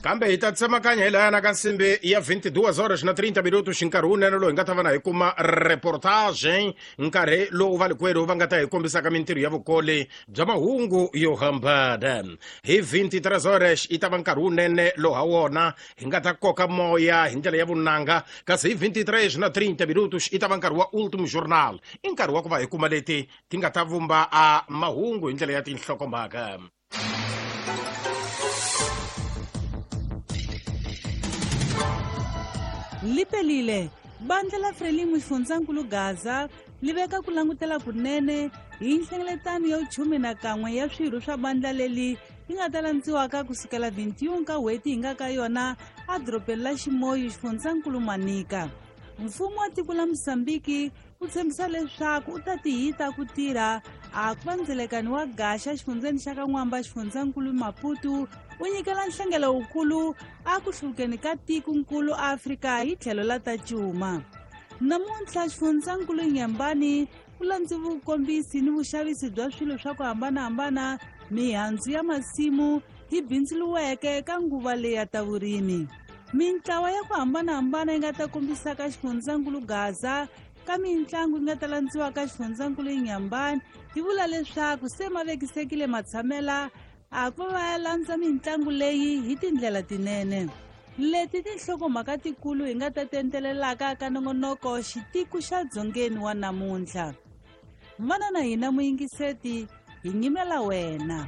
Kambe hi ta tsemakanya hi layana ka nsimbi ya 22 horas na 30 minutos, nkarhi wunene lowu hi nga ta va na hi kuma reportage, nkarhi lowu valikwerhu va nga ta hi kombisaka mintirho ya vukoli bya mahungu yo hambana. Hi 23 horas yi ta va nkarhi wunene lowu ha wona hi nga ta koka moya hi ndlela ya vunanga, kasi hi 23 na 30 minutos yi ta va nkarhi wa Ultimo Journal, i nkarhi wa ku va hi kuma leti ti nga ta vumba a mahungu hi ndlela ya tinhlokomhaka. Lipelile bandla la Frelimo xifundzankulu Gaza li veka ku langutela kunene hi nhlengeletano ya 11 ya swirho swa bandla leli yi nga ta landziwaka kusukela 21 ka n'hweti hi nga ka yona edorobeni la Ximoyu xifundzankulu Manika. Mfumo wa tiko la Mosambiki wu tshembisa leswaku u ta tihita ku tirha a ku va ndzelekani wa gaxa xifundzeni xa ka N'wamba xifundzankulu Maputo wu nyikela nhlengelo wukulu a ku hluvukeni ka tikonkulu Afrika hi tlhelo la ta cuma. Namuntlha xifundzankulu Nyembani ku landzi vukombisi ni vuxavisi bya swilo swa ku hambanahambana, mihandzu ya masimu yi bindzuriweke ka nguva leyi ya ta vurimi. Mintlawa ya ku hambanahambana yi nga ta kombisaka xifundzankulu Gaza ka mitlangu yi nga ta landziwa ka xifundzankulu Nyambani yi vula leswaku se ma vekisekile matshamela a ku va ya landza mitlangu leyi hi tindlela tinene. Leti tinhlokomhaka tikulu hi nga ta tentelelaka ka nongonoko xitiku xa dzongeni wa namuntlha. Vana na hina muyingiseti, hi nyimela wena.